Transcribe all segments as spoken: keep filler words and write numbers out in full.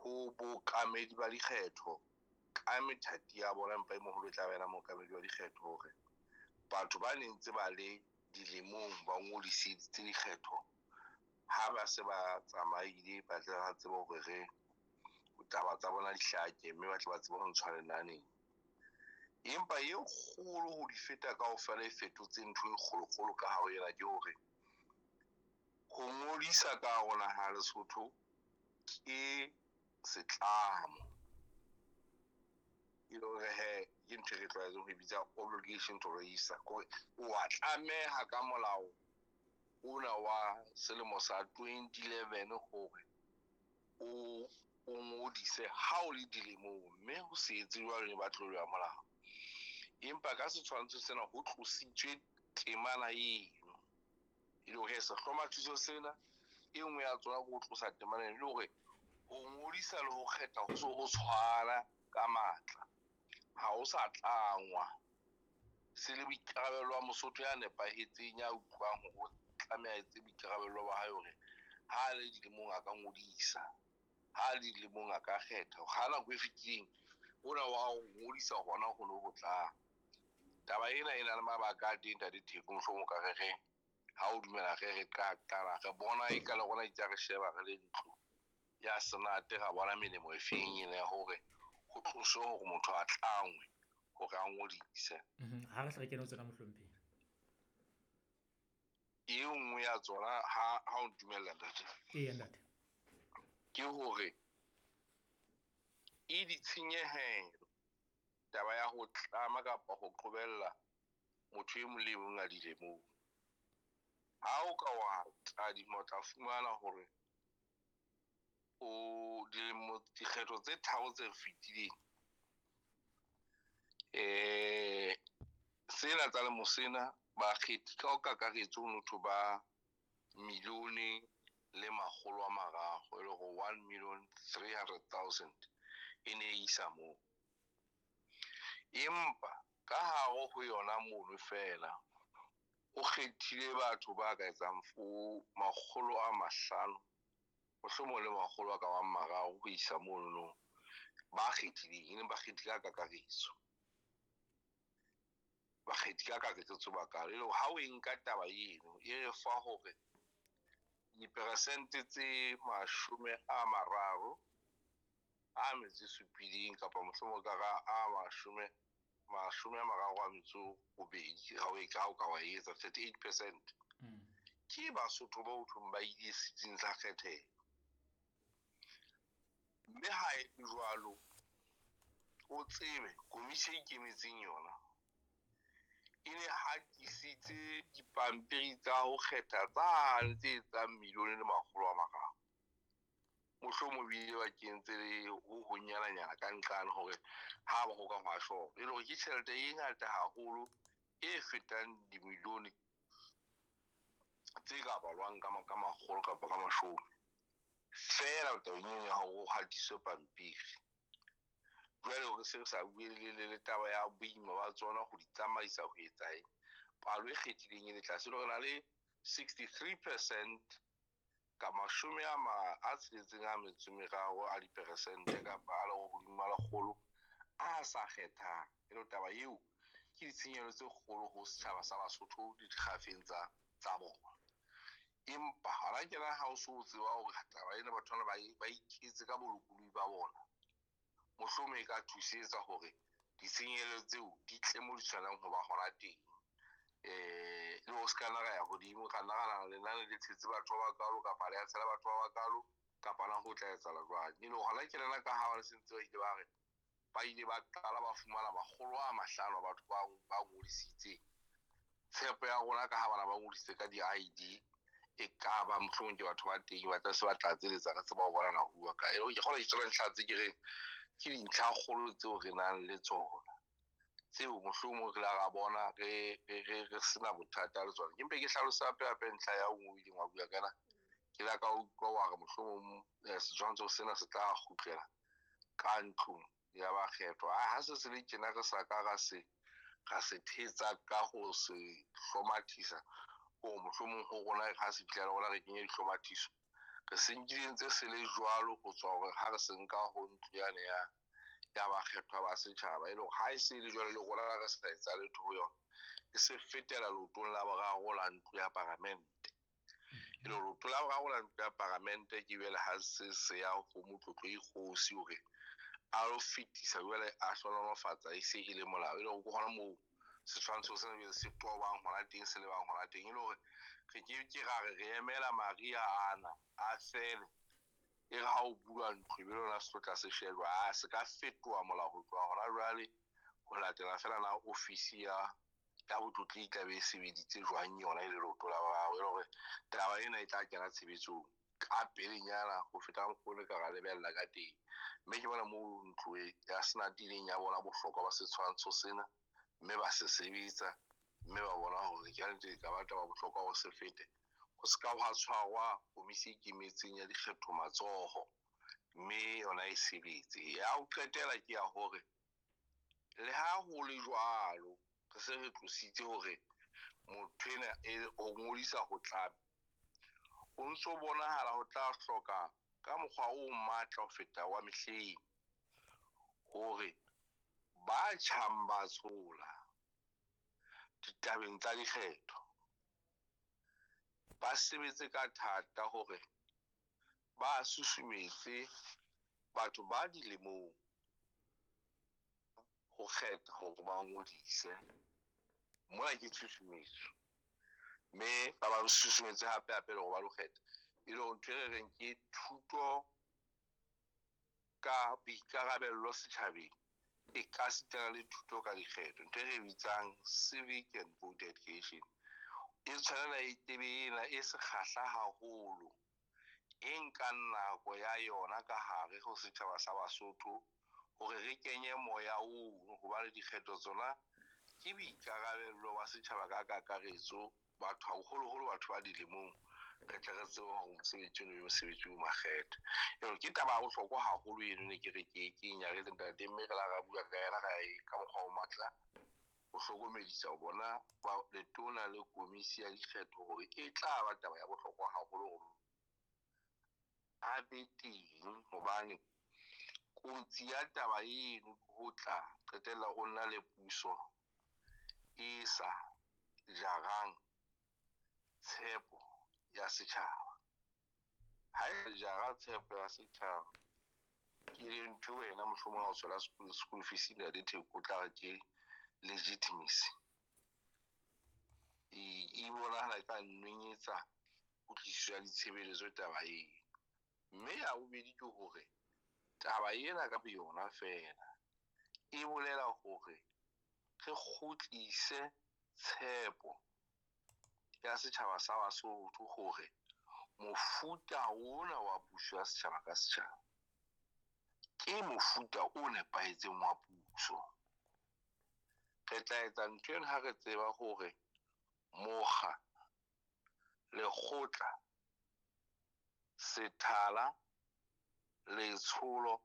ho bookamedi ba dikgetho ka methati ya bona, empa e moholo e tla ba yena mookamedi wa dikgetho, hore batho ba neng ntse ba le dilemong ba ngodiseditse dikgetho ha ba se ba tsamaile, ba tle ba tsebe hore re taba tsa bona di hlake, mme ba tle ba tsebe ho ntshwa lenaneng. Empa e kgolo ho di feta kaofela e fetotse ntho e kgolokgolo ka hare ena ke hore ho ngodisa ka hare ho naha ya Lesotho ke setlamo. E le hore he ke ntho e re tlwaetseng ho e bitsa obligation to register, kore o a tlameha ka molao ona wa selemo sa twenty eleven hore o o ngodise ha o le dilemong, mme ho se etse jwalo ne ba tlolo ya molao. Empa ka setshwantsho sena ho tlositswe temana eno, e le hore sehlomathiso sena e nngwe ya tsona ke ho tlosa temana eno, e le hore ho ngodisa le ho kgetha ho se ho tshwana ka matla, ha ho sa tlangwa. Se le boikarabelo ba Mosotho ya nepahetseng, ya utlwang hore o tlameha a etse boikarabelo ba hae hore ha a le dilemong a ka ngodisa, ha a le dilemong a ka kgetha. Ha nako e fetileng hona wa ho ngodisa hona ho no ho tla. Taba ena e na le mabaka a teng, Ntate Theko, mohlomong o ka re re ha o dumela re re ka qala re bona e ka le rona itse re sheba re le ntlo ya Senate, ra bona melemo e feng ena ya hore ho tloswe hore motho a tlangwe hore a ngodise. Mhm, ha re hle re kene ho tsona mohlomphehi. E nngwe ya tsona ha ha o ntumella ntate. Eya ntate. Ke hore e ditshenyehelo taba ya ho tlama kapa ho qobella motho e mong le e mong a dilemong. Ha o ka wa tadima, o tla fumana hore o dilemo dikgetho tse tharo tse fetileng, eh sena tsa lemo sena bakgethi ka ho kakaretso ho motho ba milione le makgolo a mararo, e le hore one million three hundred thousand e ne e isa moo. Empa ka hare ho yona mono fela o kgethile batho ba ka etsang fo makgolo a mahlano, mohlomong le makgolo a ka bang mararo ho isa mono, ba kgethileng, e leng bakgethi ka kakaretso. Bakgethi ka kakaretso ba kalo. E le hore ha o e nka taba eno, e re fa hore diperesente tse mashome a mararo a metso e supileng kapa mohlomong ka ra a mashome, mashome a mararo a metso robedi, ha o e ka, ha o ka wa etsa thirty-eight percent. Mm. Ke Basotho ba ho thweng ba ile setsing sa kgethelo. Mme ha e le jwalo, o tsebe komiti e ikemetseng yona e ne hatisitse dipampiri tsa ho kgetha tsane tse etsang milione le makgolo a mararo. Mohlomong ebile ba kentse le ho honyananyana ka nqane hore ha ba ho ka hwa short. E le hore ke tjhelete e ngata haholo e fetang dimilione tse ka balwang ka ma-, ka makgolo kapa ka mashome. Feela tabeng eno ya hore ho hatiswe pampiri. Jwale hore se re sa bue le, le, le taba ya boima ba tsona ho di tsamaisa ho etsa eng, palo e kgethileng e le tlase. E le hore re na le sixty-three percent ka mashome a ma-, a tsheletseng a metso e meraro a diperesente kapa a le hodimo a lekgolo a sa kgethang. E le taba eo ke ditshenyehelo tse kgolo ho setjhaba sa Basotho le dikgafeng tsa, tsa bona. Empa hona tjena ha o so tseba hore taba ena batho bana ba e-, ba iketse ka bolokolohi ba bona, mohlomong e ka thusetsa hore ditshenyehelo tseo di tle mo di tshwanelang ho ba hona teng. Eh, le ho se ka nna ra ya hodimo, ra nna ra nahana lenane le tshetse batho ba bakalo kapa le ya tshela batho ba bakalo kapa na ho tla etsahala jwang. E le hore hona tjena ka ha ba se ntse ba ile ba re ba ile ba qala ba fumana makgolo a mahlano a batho ba, ba ngodisitseng. Tshepo ya rona ka ha bana ba ngodisitse ka di-I D, e ka ba mohlomong ke batho ba teng ba tla se ba tlatseletsa re tseba ho bona na ho bua kae. E le hore ke kgona ke tsona ntlha tse ke reng ke dintlha kgolo tseo re nang le tsona, tseo mohlomong re la ra bona re, re, re, re sena bothata le tsona. Ke mpe ke hlalose hape hape ntlha ya nngwe o ileng wa bua ka yona. Ke la ka utlwa wa re mohlomong, eh, setshwantsho sena se tla kgutlela ka ntlong ya bakgethwa. Ah, ha se se le tjena re sa ka ra se, ra se thetsa ka ho se hlomathisa, hore mohlomong ho rona ha se fihla le rona re kenye dihlomathiso. Re se nkile ntse se le jwalo ho tswa hore ha re se nka ho ntlo yane ya ya bakgethwa ba setjhaba, e le hore ha e se le jwalo le rona re sa etsa letho ho yona, e se fetela leotong la boraro la ntlo ya paramente. E le hore leoto la boraro la ntlo ya paramente ke jwale ha se se ya ho motlotlo ikgosi hore a lo fetisa jwale a hlohonolofatsa e se e le molao. E le hore ke hona moo setshwantsho sena jwale se tobang hona teng, se lebang hona teng. E le hore re ke ke ra re re emela mariha ana a fele, e re ha o bua ntlo ebe lona se tlo tla se shejwa, a se ka fetoha molao ho tloha hona jwale ho latela feela na ofisi ya ya botlotli e tla be e sebeditse jwang yona e le leoto la boraro. E le hore taba ena e tla kena tshebetsong ka pelenyana ho feta mokgwa o re ka ra lebella ka teng. Mme ke bona moo ntlo e ya Senate ileng ya bona bohlokwa ba setshwantsho sena, mme ba se sebetsa, mme ba bona hore ke nnete e ka ba taba bohlokwa ho se fete, ho se ka hwa tshwarwa komisi e ikemetseng ya dikgetho matsoho, mme yona e sebetse. Ya ho qetela ke ya hore le ha ho le jwalo, re se re tlositse hore motho ena e ho ngodisa ho tla, ho ntso bonahala ho tla hloka ka mokgwa o matla ho feta wa mehleng hore ba tjhang ba tshola ditabeng tsa dikgetho ba sebetse ka thata hore ba susumetse batho ba dilemong ho kgetha hore ba ngodise. Mona ke tshusumetso, mme ba ba susumetse hape hape le hore ba lo kgetha. E le hore ntho e re reng ke thuto ka boikarabello setjhabeng e ka sitana le thuto ka dikgetho, ntho e re bitsang civic and voter education. E tshwanela e tebe ena e sekgahla haholo, e nkang nako ya yona ka hare ho setjhaba sa Basotho hore re kenye moya oo, hobane dikgetho tsona ke boikarabello ba setjhaba ka kakaretso, batho haholoholo batho ba dilemong, re tle re tsebe hore mosebetsi ono ke mosebetsi o makgethe. Eo ke taba ya bohlokwa haholo eno, ne ke re ke ke e nyaretse ntate, mme re la ra bua ka yena ra e ka mokgwa o matla ho hlokomedisa ho bona ba letona le komisi ya dikgetho hore e tla ba taba ya bohlokwa haholo hore a be teng, hobane kotsi ya taba eno ho tla qetella o nna le puso e sa jarang tshepo ya setjhaba. Ha e jara tshepo ya setjhaba, ke ntho wena mohlomong ha o tswela school, school fees na le theko, o tla re ke legitimacy. E, e bonahala e ka nwenyetsa kutlwisiso ya ditshebeletso taba eo. Mme ya bobedi ke hore taba ena ka boyona feela e bolela hore re kgutlise tshepo ya setjhaba sa Basotho hore mofuta ona wa puso ya setjhaba ka setjhaba ke mofuta o nepahetseng wa puso. Re tla etsa ntho ena ha re tseba hore mokga, lekgotla, sethala, letsholo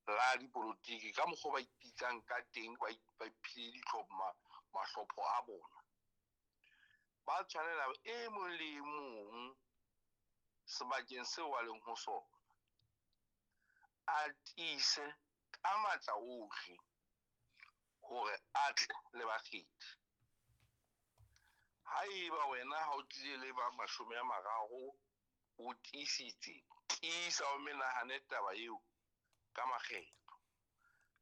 la dipolotiki ka mokgwa ba ipitsang ka teng, ba ba iphile ditlhopho, ma-, mahlopho a bona, ba tshwanela e mong le e mong sebakeng seo a leng ho sona a tiise ka matla ohle hore a tle le bakgethi. Haeba wena ha o tlile le ba mashome a mararo, o tiisitse, tiisa o menahane taba eo ka makgetlo.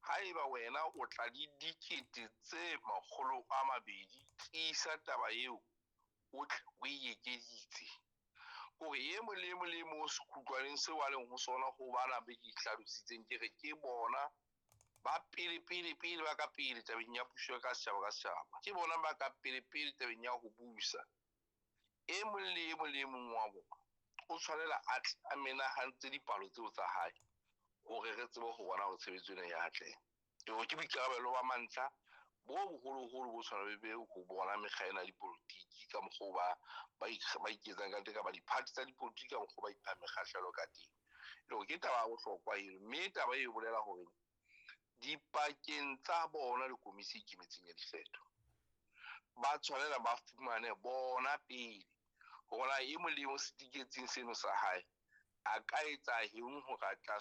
Haeba wena o tla le dikete tse makgolo a mabedi, tiisa taba eo o tle o e ekeditse. Hore e mong le e mong le e mong sekgutlwaneng seo a leng ho sona, ho bana be ke hlalositseng ke re ke bona ba pele, pele, pele ba ka pele tabeng ya puso ka setjhaba ka setjhaba. Ke bona ba ka pele, pele tabeng ya ho busa. E mong le e mong le e mong wa bona o tshwanela a tle a menahantse dipalo tseo tsa hae hore re tsebe ho bona hore tshebetso ena ya atleha. Ke hore ke boikarabelo ba mantlha bo boholoholo bo tshwana le be ho bona mekga ena ya dipolotiki ka mokgwa o ba, ba ikg-, ba iketsang ka teng, kapa di-party tsa dipolotiki ka mokgwa o ba iphang mekgahlelo ka teng. Le hore ke taba ya bohlokwa eno, mme taba e bolela hore dipakeng tsa bona le komisi e ikemetseng ya dikgetho ba tshwanela ba fumane bona pele Hore na e mong le e mong setiketseng seno sa hae a ka etsa eng hore a tla